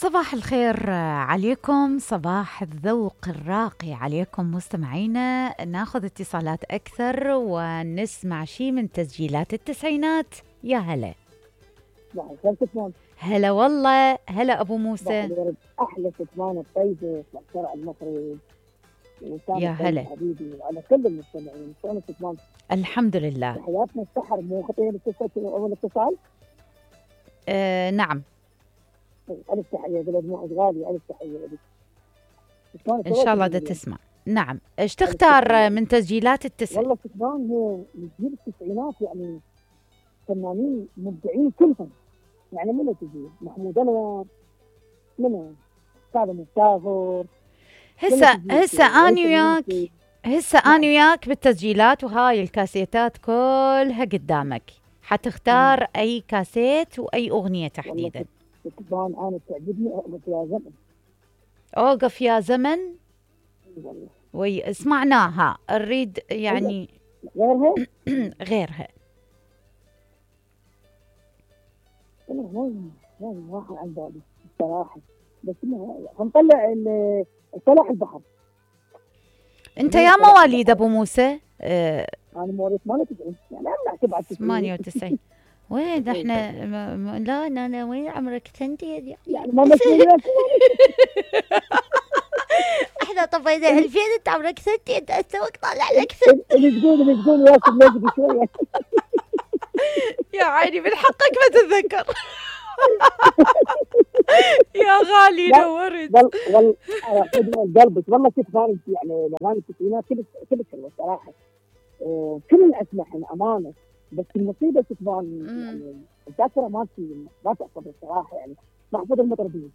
صباح الخير عليكم، صباح الذوق الراقي عليكم مستمعينا. ناخذ اتصالات أكثر ونسمع شي من تسجيلات التسعينات. يا هلا. هلا والله، هلا أبو موسى. أحلى ستمان الطيبة في الشارع المصري. يا هلا حبيبي وعلى كل المستمعين. شلون ستمان؟ الحمد لله. حياتنا السحر مو خطير أول اتصال؟ نعم. ألف تحية بلد موعد غالي، ألف تحية لك. إن شاء الله دا تسمع. نعم، إيش تختار من تسجيلات التسعينات؟ والله ستمان هو جيل التسعينات، يعني فنانين مبدعين كلهم. يعني منو تجي؟ محمود أنور، منو؟ سالم السافر. هسه أنا وياك بالتسجيلات، وهاي الكاسيتات كلها قدامك، حتختار أي كاسيت وأي أغنية تحديدا؟ طبعا أنا تعجبني أوقف يا زمن. أوقف يا زمن. سمعناها، نريد يعني غيرها. غيرها. أنا واحد عن بالي الصراحة، بس هنطلع صلاح البحر. أنت يا مواليد أبو موسى؟ أنا مواليد 98، يعني أنا بعد 98. وين احنا لا وين عمرك سنتي يعني ما مسؤوليات. احنا طفينا 2000، انت عمرك سنتي، انت استوك طالع لك سنت. اللي تقول ياسر نجد شويه. يا عيني من حقك ما تتذكر. يا غالي نورت. والله قلبك والله كنت فاهم، يعني الاغاني التسعينات كلش حلوه صراحه. كل الاسماء امانه، بس المصيبه تبان يعني الذاكره ما تحفظ الصراحه، يعني ما احفظ المطربين.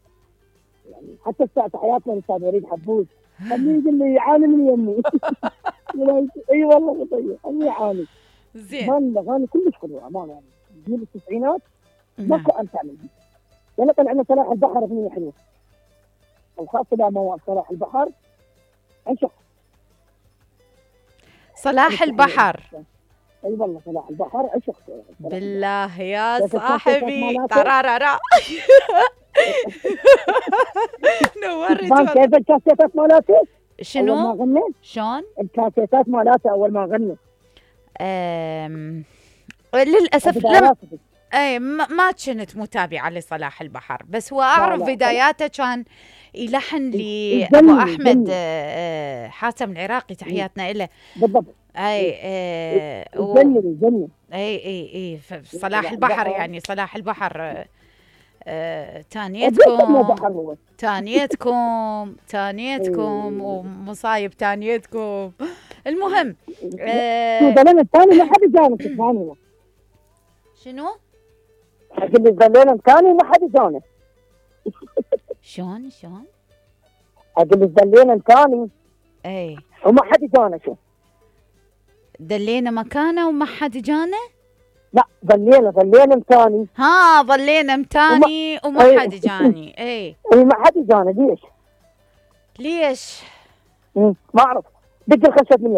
يعني حتى ساعه حياتنا الاستاذ وليد حبوش خليه يقول لي يعاني من يمي. اي والله طيب خليه يعاني. زين. الاغاني كلش حلوه امانه، يعني جيل التسعينات ماكو امتع منها. يعني طلع لنا صلاح البحر اغنيه حلوه، وخاصه لما صلاح البحر انشق. صلاح البحر. اي والله صلاح البحر عشق بالله يا صاحبي. ترارارا. نورت. كيف الكاسيتات مالته؟ شنو؟ أول ما غنى؟ شلون؟ الكاسيتات مالته أول ما غنى. للأسف اي ما كنت متابعة لصلاح البحر، بس هو أعرف بداياته كان يلحن لأبو أحمد حاتم العراقي، تحياتنا له. بالضبط. اي الجنة. اي صلاح البحر، يعني صلاح البحر. تانيتكم ومصايب تانيتكم. المهم الزلين الثاني ما حد جانه تفهمينه. شنو؟ أقول الزلين الثاني ما حد جانه. شلون؟ أقول الزلين الثاني اي وما حد جانه. شو دلينا مكانه وما حد جانه؟ لا ظلينا متاني. ظلينا متاني وما حد جاني. اي ما حد جاني. ليش؟ ليش؟ ما اعرف. دق الخشب من